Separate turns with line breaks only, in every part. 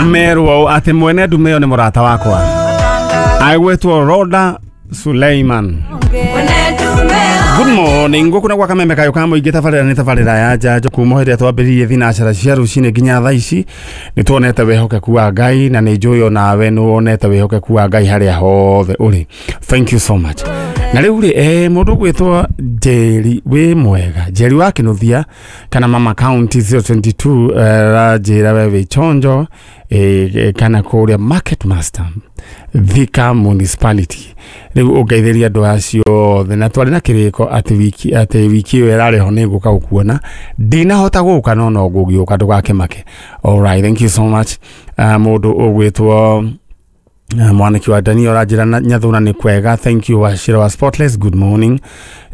Merwo atĩ mwene ndume ĩyo nĩ mũrata wakwa agwĩtwo Roda Suleiman. Good morning, gũkũ na gwa kameme kayo ka mũingĩ tabarĩra nĩ tabarĩra ya njanjo kuma hĩndĩ ĩrĩa twambĩrĩirie thinacara cia rũcinĩ nginya thaa ici nĩ tuonete wĩhokeku wa Ngai na nĩ njũĩ onawe nĩ wonete wĩhokeku wa Ngai harĩa hothe ũrĩ. Thank you so much. Na rĩu rĩ mũndũ ũgwĩtwo Njeri wĩ mwega, Njeri wa Kĩnuthia kana Mama County 022 ranjĩra we wĩ chonjo kana kũrĩa Market Master Thika Municipality. Rĩu ũngeithĩria andũ acio othe na twarĩ na kĩrĩko atĩ wiki ĩyo ĩrarĩ ho nĩ ngũka gũkuona, ndinahota gũka no no ngũgĩũka, ndũgakĩmake. Alright, thank you so much. Mũndũ ũgwĩtwo mwaniki wa Daniel ũranjĩra na Nyathuna nĩ kwega. Thank you Wachira wa Spotless, good morning.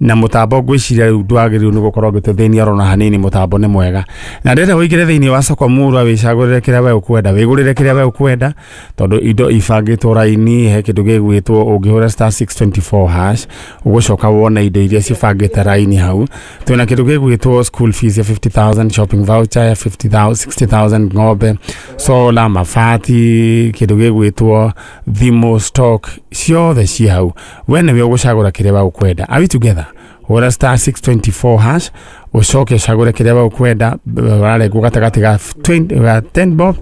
Na mũtambo ngwĩciria rĩu ndwagĩrĩirwo nĩ gũkorwo ũgĩtũthĩnia orona hanini, mũtambo nĩ mwega na ndĩrenda ũingĩre thĩinĩ wa soko murwa wĩcagũrĩre kĩrĩa we ũkwenda, wĩgũrĩre kĩrĩa we ũkwenda tondũ indo ibangĩtwo raini. He kĩndũ gĩgwĩtwo ũngĩhũra *624# ũgũcoka wone indo iria cibangĩte raini hau. Twĩna kĩndũ gĩgwĩtwo school fees ya 50,000, shopping voucher ya 50,000, 60,000, ng'ombe, solar, mabati, kĩndũ gĩgwĩtwo thimũ, stock ciothe ci hau. We nĩwe ũgũcagũra kĩrĩa we ũkwenda. Are we together? Hũra *624# ũcoke ũcagũre kĩrĩa we ũkwenda. Ũrarengwo gatagatĩ ga 20, ga 10 bob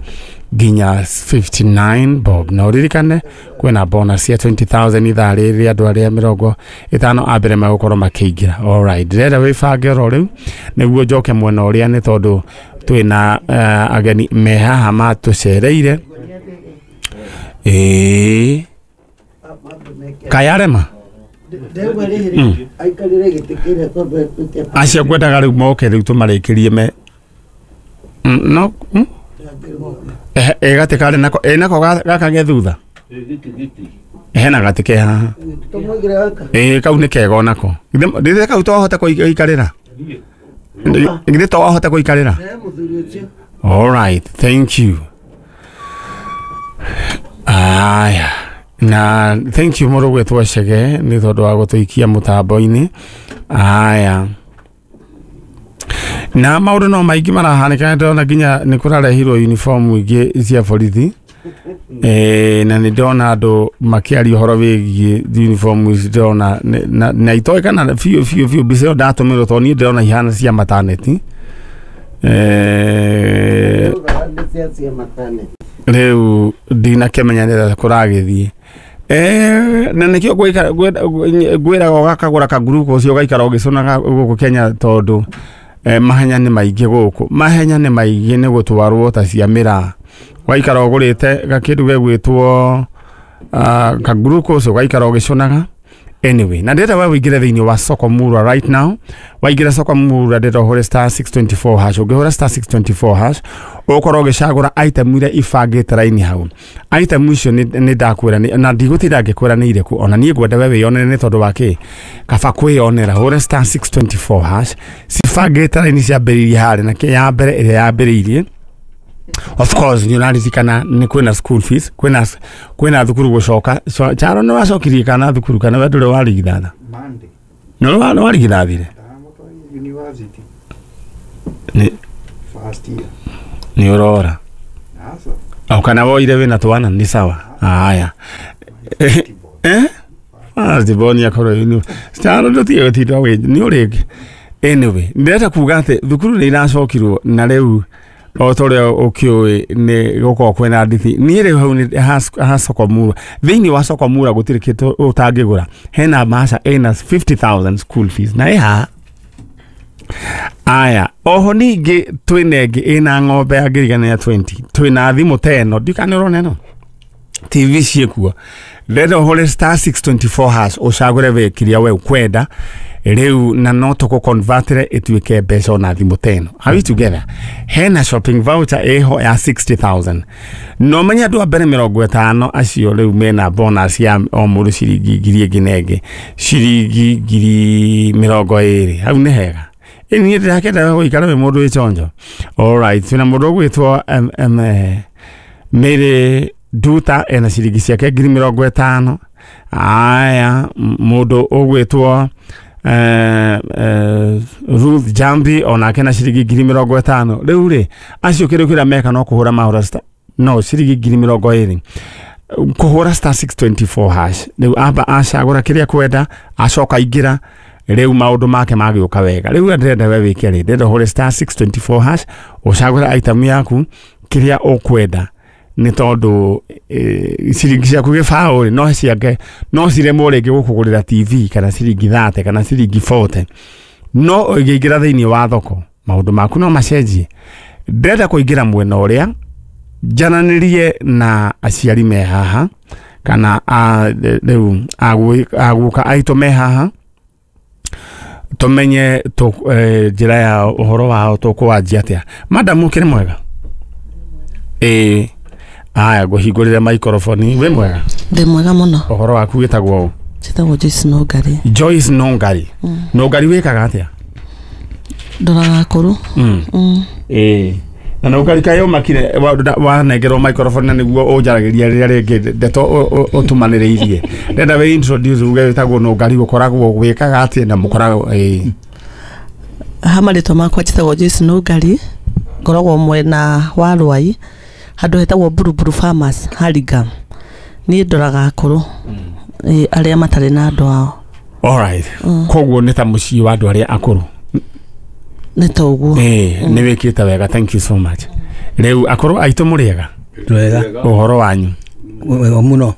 nginya 59 bob, na ũririkane kwĩna bonus ya 20,000 ithaa rĩrĩ andũ arĩa 50 a mbere megũkorwo makĩingĩra. Alright, ndĩrenda wĩbange oro rĩu nĩguo njoke mwena ũrĩa nĩ tondũ twĩna ageni me haha matũcereire. Ĩĩ, kayarema.
Ndegwa rĩrĩ aikarĩre gĩtĩ kĩrĩa tondũ atuĩke.
Acio ngwendaga rĩu moke rĩu tũmarĩkĩrie me no ĩ gatĩ karĩ nako ĩ nako gaka ge thutha hena gatĩ ke haha.
Tũmũigĩre gaka.
Ĩ, kau nĩ kega onako. Githĩ kau to wahota gũikarĩra? Githĩ to wahota gũikarĩra?
He mũthuri ũcio.
All right, thank you. Aya, na thank you mũrũ gwĩtwo Chege nĩ tondũ wa gũtũikia mũtambo-inĩ. Aya, na maũndũ no maingĩ marahanĩka, ndĩrona nginya nĩ kũrarehirwo uniform ingĩ cia borithi. Na nĩ ndĩrona andũ makĩaria ũhoro wĩgiĩ uniform ici, ndĩrona na itoĩ kana biũ biũ biũ mbica ĩyo ndatũmĩrwo tondũ niĩ ndĩrona ihana cia maternity.
Nĩ cia maternity.
Rĩu ndinakĩmenya nĩ kũragĩthiĩ. Na nĩkĩo ngwĩraga ũgakagũra kaguruko ũcio ũgaikara ũgĩcũnaga gũkũ Kenya tondũ mahenya nĩ maingĩ gũkũ, mahenya nĩ maingĩ nĩ gũtwarwo ta cia mĩraa, ũgaikara ũgũrĩte gakĩndũ gegwĩtwo kaguruko ũcio ũgaikara ũgĩcũnaga. Anyway, na ndĩrenda we ũingĩre thĩinĩ wa soko murwa right now. Waingĩra soko murwa, ndĩrenda ũhũre *624#. Ũngĩhũra *624# ũgũkorwo ũgĩcagũra item iria ibangĩte raini hau. Item icio nĩ ndakwĩra na ndigũtinda ngĩkwĩra nĩ irĩkũ, ona niĩ ngwenda we wĩyonere nĩ tondũ wa kĩ kaba kwĩyonera. Hũre *624#, cibangĩte raini ciambĩrĩirie harĩa na ya mbere ĩrĩa yambĩrĩirie, of course nĩ ũraririkana nĩ kwĩna school fees, kwĩna thukuru gũcoka. Charo nĩ wacokirie kana thukuru kana we ndũrĩ warigithatha?
Monday.
Nĩ warigithathire?
Ndamũtwarire university.
Nĩ
First year.
Nĩ ũrora?
Asa.
O kana woire wĩna twana nĩ sawa. Aya, first born akorwo Charo ndũtige gũtinda wĩ nĩ ũrĩngĩ. Anyway, ndĩrenda kuga atĩ thukuru nĩ iracokirwo na rĩu o ta ũrĩa ũkĩũĩ nĩ gũkorwo kwĩna ndithi. Niĩ rĩu hau nĩ ha soko mura, thĩinĩ wa soko mura gũtirĩ kĩndũ ũtangĩgũra. Hena maca ĩna 50,000 school fees na ĩ haha. Aya, oho ningĩ twĩna ĩngĩ ĩna ng'ombe ya ngiri ya 20, twĩna thimũ ta ĩno, ndikana ũrona ĩno TV ciĩkuo. Ndĩrenda ũhũre *624# ũcagũre we kĩrĩa we ũkwenda rĩu na no tũkũ-convertĩre ĩtuĩke mbeca ona thimũ ta ĩno. Are we together? Hena shopping voucher ĩho ya 60,000 no menye andũ a mbere 50 acio rĩu mena bonus ya o mũndũ ciringi ngiri ĩngĩ na ĩngĩ ciringi 20,000. Hau nĩ hega. Ĩ niĩ ndĩrakenda gũikara wĩ mũndũ wĩ chonjo. Alright, twĩna mũndũ ũgwĩtwo Mary Duta ena ciringi ciake 50,000. Aya, mũndũ ũgwĩtwo Ruth Jambi onake na ciringi 50,000. Rĩu rĩ acio kĩndũ kĩrĩa meka no kũhũra mahũra. No ciringi 20,000. Kuhura star 624 hash. Riu amba acagura kiria kwenda, acoka ingira riu maundu make magiuka wega. Riu ndĩrenda we wike ri, ndĩrenda ũhũre star 624 hash, ucagure item yaku kiria ukwenda. Nĩ tondũ ciringi ciaku gĩbaũ rĩ no ciake no ciremwo rĩngĩ gũkũgũrĩra TV kana ciringi 30 kana ciringi 40, no ũngĩingĩra thĩinĩ wa thoko maũndũ maku no macenjie. Ndĩrenda kũingĩra mwena ũrĩa njaranĩrie na aciari me haha kana rĩu aguka aitũ me haha, tũmenye njĩra ya ũhoro wao tũkũwanjia atĩa. Madam, ũkĩrĩ mwega? Ĩĩ. Aya, ngũhingũrĩre microphone. Wĩ mwega?
Ndĩ mwega mũno.
Ũhoro waku wĩtagwo ũ?
Njĩtagwo Joyce Nũngari.
Joyce Nũngari. Nũngari wĩkaga atĩa?
Ndoraga akũrũ.
Ĩĩ. Na Nũngari kaĩ ũmakire wanengerwo microphone na nĩguo ũnjaragĩria rĩrĩa rĩngĩ ndeto ũtũmanĩrĩirie. Ndenda wĩ introduce uge wĩtagwo Nũngari, ũkoragwo wĩkaga atĩa na mũkoragwo ĩĩ.
Ha marĩtwa makwa njĩtagwo Joyce Nũngari, ngoragwo mwena wa Rwai, handũ hetagwo Buruburu Farmers Hurlingham. Niĩ ndoraga akũrũ arĩa matarĩ na andũ ao.
Alright. Koguo nĩ ta mũciĩ wa andũ arĩa akũrũ.
Nĩ ta ũguo.
Nĩ wĩkĩte wega, thank you so much. Rĩu akũrũ aitũ mũrĩega?
Wega.
Ũhoro wanyu?
Wega mũno.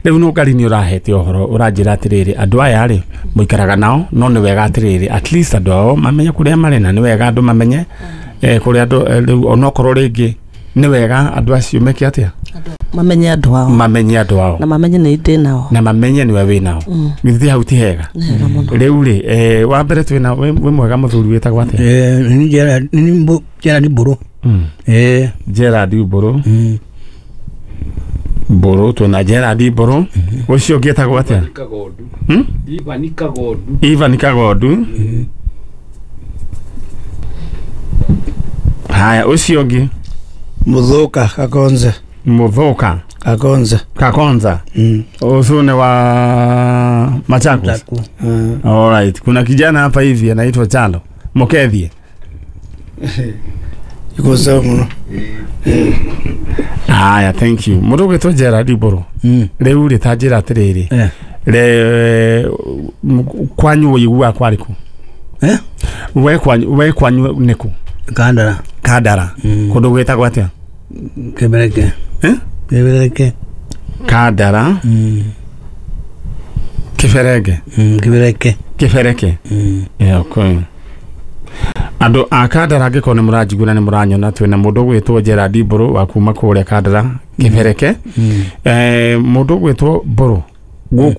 Rĩu Nũngari nĩ ũrahete ũhoro, ũranjĩra atĩrĩrĩ andũ aya rĩ mũikaraga nao, no nĩ wega atĩrĩrĩ at least andũ ao mamenye kũrĩa marĩ, na nĩ wega andũ mamenye kũrĩa andũ rĩu onokorwo rĩngĩ nĩ wega andũ acio meke atĩa?
Mamenye andũ ao.
Mamenye andũ ao.
Na mamenye nĩ ndĩ nao.
Na mamenye nĩwe wĩ nao. Githĩ hau ti hega?
Nĩ hega mũno.
Rĩu rĩ wa mbere twĩna wĩ mwega mũthuri wĩtagwo atĩa?
Nĩ Gerard Mbũrũ.
Gerard Mbũrũ. Mbũrũ, twĩna Gerard Mbũrũ. Ũcio ũngĩ etagwo atĩa?
Ivan Kagondu.
Ivan Kagondu. Haya, ũcio ũngĩ?
Muthuka Kakonza.
Muthuka
Kakonza.
Kakonza. Ũcio nĩ wa Machakos. All right. Kuna kijana hapa hivi anaitwa Chalo Mokethie.
Iko sawa muno.
Haya, thank you. Mũndũ ũgwĩtwo Gerard Mbũrũ. Rĩu rĩ ta njĩra atĩrĩrĩ. Re kwanyu ũiguaga kwarĩ kũ? We kwanyu nĩ kũ?
Kandara.
Kandara. Kũndũ gwĩtagwo atĩa?
Kebereke. Kebereke.
Kandara. Kibereke.
Kibereke.
Kibereke. Okay. Andũ a Kandara angĩkorwo nĩ mũranjigua na nĩ mũranyona, twĩna mũndũ ũgwĩtwo Gerard Mbũrũ wa kuma kũrĩa Kandara Kibereke. Mũndũ ũgwĩtwo Mbũrũ,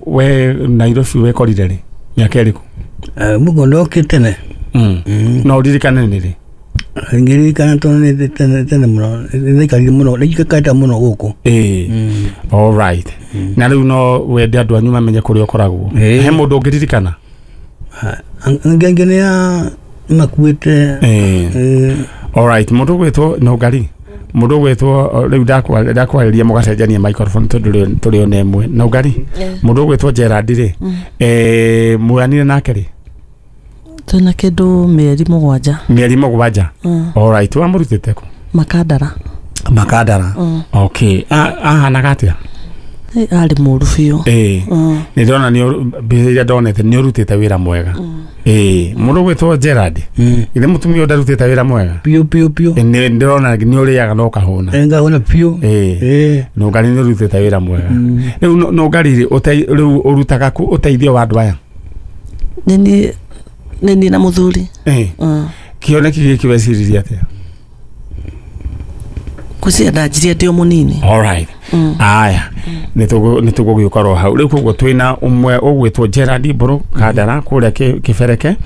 we Nairobi wekorire rĩ? Mĩaka ĩrĩkũ?
Mũguo ndokĩte tene.
No ũririkane nĩ rĩ?
Ngĩririkana tondũ nĩ tene mũno, nĩndaikarire mũno, nĩnjikarĩte mũno gũkũ.
All right. Na rĩu no wende andũ anyu mamenye kũrĩa ũkoragwo. He mũndũ ũngĩririkana?
Angĩ nĩ a makuĩte.
All right, mũndũ ũgwĩtwo Nũngari, mũndũ ũgwĩtwo rĩu ndakwarĩria mũgacenjania microphone tondũ tũrĩ ona ĩmwe. Nũngari, mũndũ ũgwĩtwo Gerard rĩ, muoyanire nake rĩ?
Twĩna kĩndũ mĩeri 7.
Mĩeri 7. All right, wamũrutĩte kũ?
Makandara.
Makandara. Okay. Ahanaga atĩa?
Arĩ mũũru biũ.
Nĩ ndĩrona nĩ mbica iria ndonete nĩ ũrutĩte wĩra mwega. Mũndũ ũgwĩtwo Gerard, githĩ mũtumia ũyũ ndarutĩte wĩra mwega?
Biũ biũ biũ.
Nĩ ndĩrona nĩ ũrĩaga na ũkahũna.
Ngahũna biũ.
Nũngari nĩ ũrutĩte wĩra mwega. Rĩu Nũngari rĩ, rĩu ũrutaga kũ ũteithio wa andũ aya?
Nĩ niĩ na mũthuri.
Kĩoneki gĩkĩ weciririe atĩa?
Ngwĩciria ndanjirie ndĩ o mũnini.
All right. Aya, nĩ tũgũgĩũka ro hau. Rĩu koguo twĩna ũmwe ũgwĩtwo Gerard Mbũrũ Kandara kũrĩa Kĩbereke,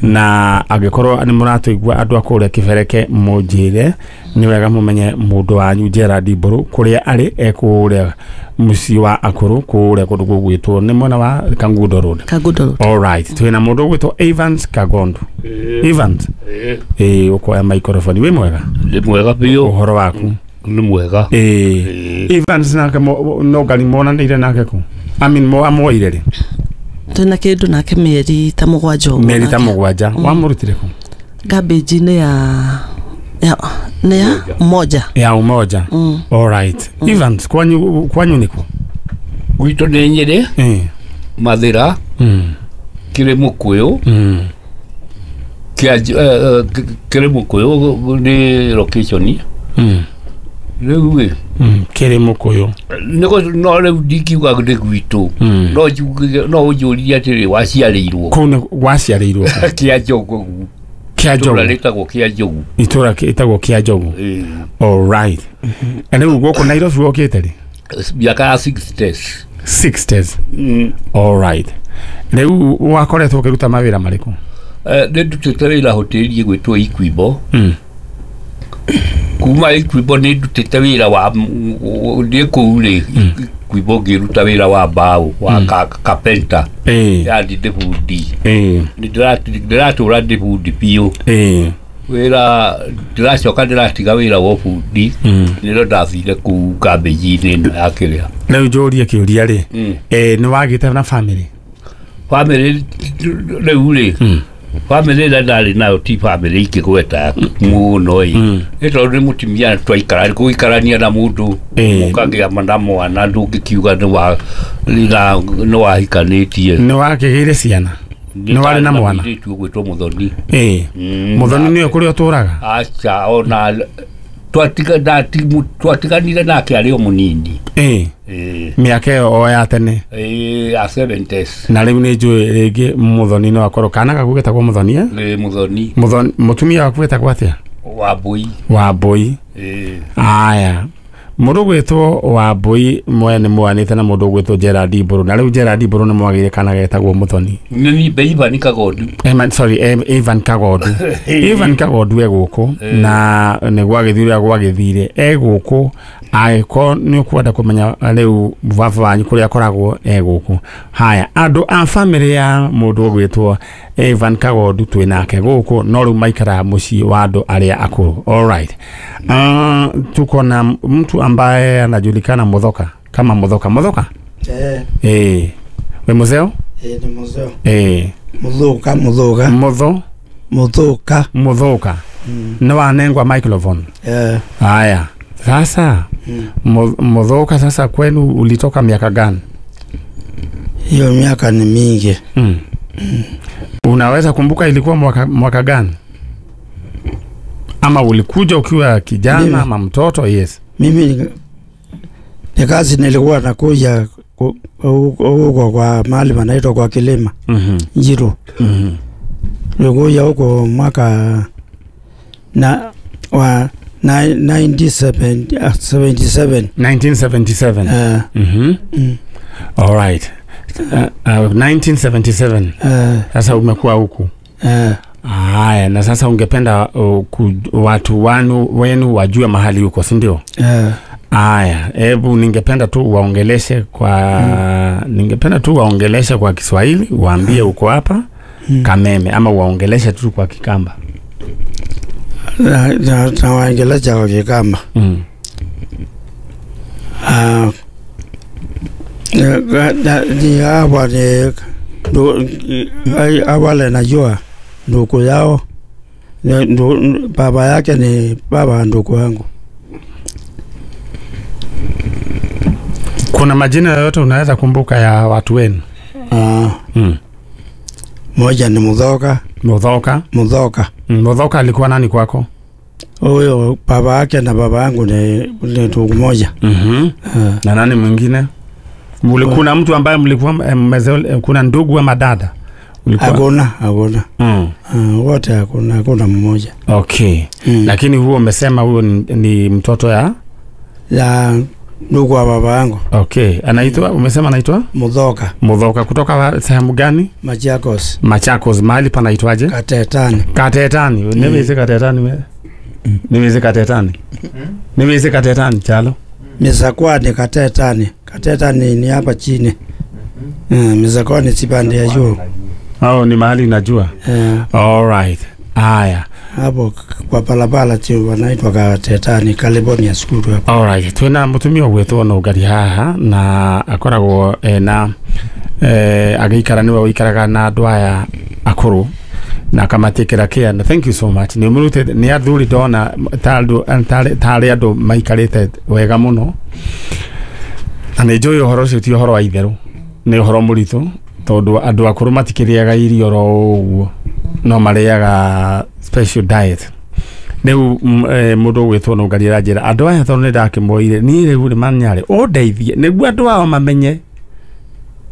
na angĩkorwo nĩ mũratũigua andũ a kũrĩa Kĩbereke mũnjĩre, nĩ wega mũmenye mũndũ wanyu Gerard Mbũrũ kũrĩa arĩ, e kũrĩa mũciĩ wa akũrũ kũrĩa kũndũ gũgwĩtwo nĩ mwena wa Kangundo Road.
Kangundo Road.
All right. Twĩna mũndũ ũgwĩtwo Evans Kagondu. Evans. Ũkoya microphone. Wĩ mwega?
Nĩ mwega biũ.
Ũhoro waku?
Nĩ mwega.
Evans nake Nũngari monanĩire nake kũ? I mean, amuoire rĩ?
Twĩna kĩndũ nake mĩeri ta 7 ũguo.
Mĩeri ta 7. Wamũrutire kũ?
Garbage-inĩ ya Ya nĩ ya Umoja.
Ya Umoja. All right. Evans, kwanyu nĩkũ?
Gwitũ nĩ Nyĩrĩ. Mathĩra. Kĩrĩ Mũkũyũ. Kĩrĩ Mũkũyũ nĩ location. Rĩu ĩ
Kĩrĩ Mũkũyũ.
No rĩu ndingiuga nĩ gwitũ. No njuge no ũnjũrie atĩrĩ waciarĩirwo.
Kũu nĩ waciarĩirwo.
Kĩa Njogu.
Kĩa Njogu.
Itũra rĩtagwo Kĩa Njogu.
Itũra rĩtagwo Kĩa Njogu. All right. Na rĩu gũkũ Nairobi wokĩte rĩ?
Mĩaka ya 60s.
60s. All right. Rĩu wakoretwo ũkĩruta mawĩra marĩkũ?
Nĩ ndutĩte wĩra hoteli ĩgwĩtwo Equibo. Kuma Equibo nĩ ndutĩte wĩra wa ndĩ kũu rĩ Equibo ngĩruta wĩra wa mbaũ wa carpenter. Yani ndĩ bundi. Ndĩratũra ndĩ bundi biũ. Wĩra ndĩracoka ndĩratiga wĩra wa bundi nĩrĩo ndathire kũu kambĩji-inĩ ĩno ya kĩrĩa.
Rĩu njũrie kĩũria rĩ, nĩ wagĩte na family?
Family rĩu rĩ, family ĩrĩa ndarĩ nayo ti family ingĩgweta mũno ĩ. Nĩ tondũ nĩ mũtumia twaikara gũikarania na mũndũ mũkagĩa na mwana ndũngĩkiuga nĩ wahikanĩtie.
Nĩ wakĩgĩire ciana? Nĩ warĩ na mwana?
Mũirĩtu ũgwĩtwo Mũthoni.
Mũthoni nĩwe kũrĩa ũtũraga?
Aca, ona twatiganire nake arĩ o mũnini.
Mĩaka ĩyo o ya tene.
Ya 70s.
Na rĩu nĩ njũĩ rĩngĩ Mũthoni no akorwo kana gaku getagwo Mũthoni?
Ĩ Mũthoni.
Mũthoni mũtumia waku etagwo atĩa?
Wambũi.
Wambũi. Aya. Mũndũ ũgwĩtwo Wambũi mwene mwanĩte na mũndũ ũgwĩtwo Gerald Mbũrũ. Na rĩu Gerald Mbũrũ nĩ mwagĩire kana getagwo Mũthoni.
Nĩ Ivan Kagondu.
Sorry, Ivan Kagondu. Ivan Kagondu e gũkũ na nĩ gwagĩthire ũrĩa gwagĩthire. E gũkũ angĩkorwo nĩ ũkwenda kũmenya rĩu baba wanyu kũrĩa akoragwo e gũkũ. Haya, andũ a family ya mũndũ ũgwĩtwo Ivan Kagondu twĩ nake gũkũ no rĩu maikaraga mũciĩ wa andũ arĩa akũrũ. All right. Tuko na mtu ambaye anajulikana Muthoka kama Muthoka. Muthoka? We muzeo?
Ni muzeo. Muthoka, Muthoka. Muthoka.
Muthoka. Nĩ wanengwa microphone. Haya. Sasa Muthoka, sasa kwenu ulitoka miaka gani?
Hiyo miaka ni mingi.
Unaweza kumbuka ilikuwa mwaka gani? Ama ulikuja ukiwa kijana ama mtoto? Yes.
Mimi ni kazi nilikuwa nakuja huko kwa mahali panaitwa kwa Kilima. Njiru. Nilikuja huko mwaka na wa 1977.
1977. All right. 1977. Sasa umekuwa huku. Haya, na sasa ungependa watu wenu wajue mahali huko, si ndio? Haya, hebu ningependa tu waongeleshe kwa ningependa tu waongeleshe kwa Kiswahili, waambie uko hapa Kameme, ama waongeleshe tu kwa Kikamba.
Na waongelesha kwa Kikamba. Ni hapa ni awale najua ndugu yao, baba yake ni baba ndugu wangu.
Kuna majina yoyote unaweza kumbuka ya watu wenu?
Moja ni Muthoka.
Muthoka?
Muthoka.
Muthoka alikuwa nani kwako?
Huyo baba yake na baba yangu ni ndugu moja.
Na nani mwingine? Kuna mtu ambaye mlikuwa kuna ndugu ama dada?
Hakuna, hakuna. Wote hakuna, hakuna mmoja.
Okay. Lakini huo umesema huo ni mtoto ya
ndugu wa baba yangu.
Okay. Anaitwa, umesema anaitwa?
Muthoka.
Muthoka kutoka sehemu gani?
Machakos.
Machakos, mahali panaitwaje?
Katetani.
Katetani. Niweze Katetani wewe. Niweze Katetani. Niweze Katetani chalo.
Misakwani Katetani. Katetani ni hapa chini. Misakwani sipande ya juu.
Oh, ni mahali najua. All right. Haya.
Hapo kwa palapala chini wanaitwa Katetani, California School hapo.
All right. Twina mutumia gwetwo no ngari haha na akoragwo na agĩikara niwe ũikaraga na andũ aya akũrũ. Na akamatikĩra care. Na thank you so much. Nĩ ũmũrutĩte nĩ athuri ndona tarĩ andũ maikarĩte wega mũno. Na nĩ njũĩ ũhoro ũcio ti ũhoro wa itherũ, nĩ ũhoro mũritũ tondũ andũ akũrũ matikĩrĩaga irio oro ũguo, no marĩaga special diet. Rĩu mũndũ ũgwĩtwo Nũngari aranjĩra andũ aya tondũ nĩ ndakĩmoire niĩ rĩu nĩ manyarĩ ũndeithie nĩguo andũ ao mamenye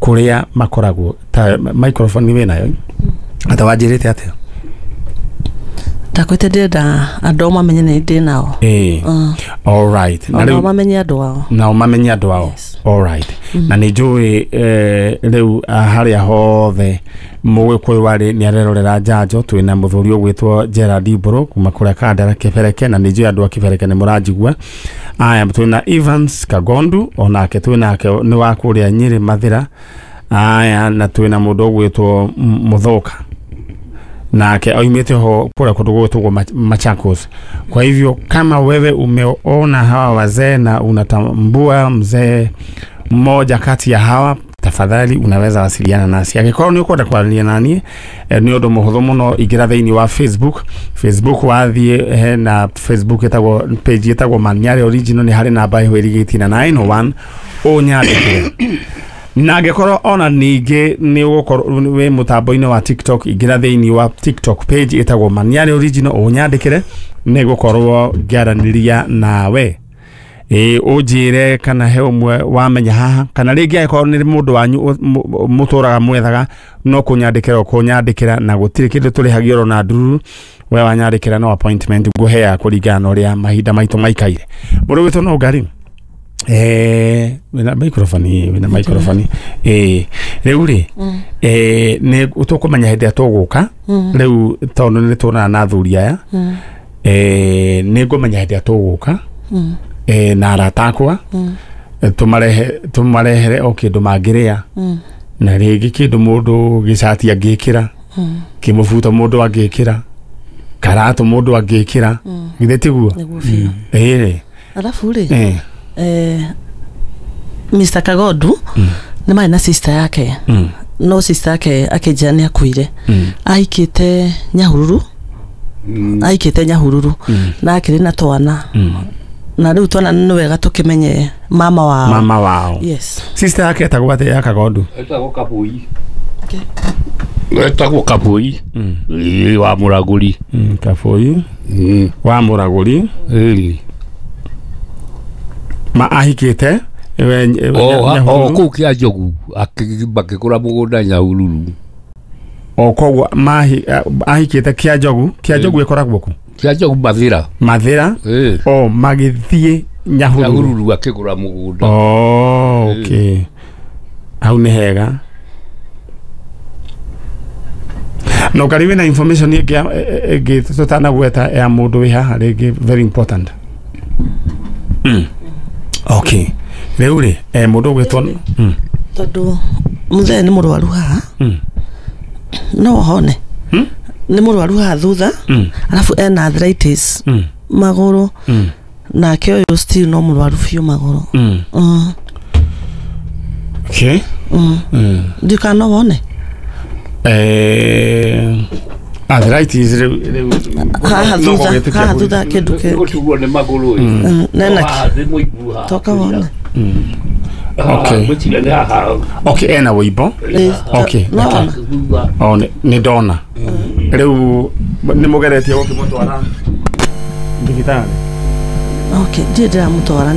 kũrĩa makoragwo. Ta microphone wĩnayo ata wanjĩrĩte atĩa?
Ndakwĩte ndĩrenda andũ ao mamenye nĩ ndĩ nao.
All right.
Na nao mamenye andũ ao.
Nao mamenye andũ ao.
Yes.
All right. Na nĩ njũĩ rĩu harĩa hothe mũgĩkũyũ warĩ nĩ arerorera njanjo. Twĩna mũthuri ũgwĩtwo Gerald Mbũrũ kuma kũrĩa Kandara Kĩbereke, na nĩ njũĩ andũ a Kĩbereke nĩ mũranjigua. Aya, twĩna Evans Kagondu onake twĩnake nĩ wa kũrĩa Nyĩrĩ Mathĩra. Aya, na twĩna mũndũ ũgwĩtwo Mũthoka nake oimĩte ho kũrĩa kũndũ gwĩtagwo Machakos. Kwa hivyo kama wewe umeona hawa wazee na unatambua mzee mmoja kati ya hawa, tafadhali unaweza wasiliana nasi. Angĩkorwo nĩ ũkwenda kwaranĩria naniĩ, nĩ ũndũ mũhũthũ mũno, ingĩra thĩinĩ wa Facebook. Facebook wathiĩ hena Facebook ĩtagwo page ĩtagwo Manyarĩ Original, nĩ harĩ namba ĩho ĩrigĩtie na 901 ũnyandĩkĩre. Na angĩkorwo ona ningĩ nĩ ũgũkorwo wĩ mũtambo-inĩ wa TikTok, ingĩra thĩinĩ wa TikTok page ĩtagwo Manyarĩ Original ũnyandĩkĩre, nĩ gũkorwo ngĩaranĩria nawe. Ũnjĩre kana he ũmwe wamenya haha, kana rĩngĩ angĩkorwo nĩ mũndũ wanyu mũtũraga mwethaga, no kũnyandĩkĩra ũkũnyandĩkĩra, na gũtirĩ kĩndũ tũrĩhagia oro na ndururu. We wanyandĩkĩra no appointment ngũheaga kũringana na ũrĩa mahinda maitũ maikaire. Mũndũ wĩtwo Nũngari, wĩna microphone, wĩna microphone. Rĩu rĩ, nĩ tũkũmenya hĩndĩ ĩrĩa tũgũka. Rĩu tondũ nĩ tuonana na athuri aya, nĩ ngũmenya hĩndĩ ĩrĩa tũgũka na arata akwa, tũmarehere o kĩndũ mangĩrĩa, na rĩngĩ kĩndũ mũndũ gĩcati angĩkĩra, kĩmũbuto mũndũ angĩkĩra, karatũ mũndũ angĩkĩra, githĩ tiguo?
Alafu rĩ, Mr. Kagondu nĩ marĩ na sister yake, no sister yake akĩnjĩra nĩ akuire. Ahikĩte Nyahururu, ahikĩte Nyahururu na akĩrĩ na twana, na rĩu twana nĩ wega tũkĩmenye mama wao.
Mama wao.
Yes.
Sister yake etagwo atĩa ya Kagondu?
Etagwo Kabui. Etagwo Kabui. Wa Mũragũri.
Kabui. Wa Mũragũri. Ma ahikĩte
o kũu kĩa Njogu, makĩgũra mũgũnda Nyahururu.
O koguo ahikĩte kĩa Njogu. Kĩa Njogu ĩkoragwo kũ?
Kĩa Njogu Mathĩra.
Mathĩra. O magĩthiĩ Nyahururu.
Nyahururu akĩgũra mũgũnda.
Oh, okay. Hau nĩ hega. No kari wĩna information ĩngĩ tũtanagweta ya mũndũ wĩ haha rĩngĩ very important. Okay. Rĩu rĩ, mũndũ ũgwĩtwo
tondũ mũthee nĩ mũrwaru haha, no ahone. Nĩ mũrwaru haha thutha, alafu ena arthritis magũrũ, nake ũyũ still no mũrwaru biũ magũrũ.
Okay.
Ndiũ kana no wone?
Arthritis rĩu
haha thutha, haha thutha kĩndũ kĩ
gũtuo nĩ magũrũ.
Nena toka wone.
Okay. Okay, ena wĩimbo. Okay. Oh, nĩ ndona. Rĩu nĩ mũgeretie gũkĩmũtwara thibitarĩ?
Okay, ndirĩ ndĩramũtwara.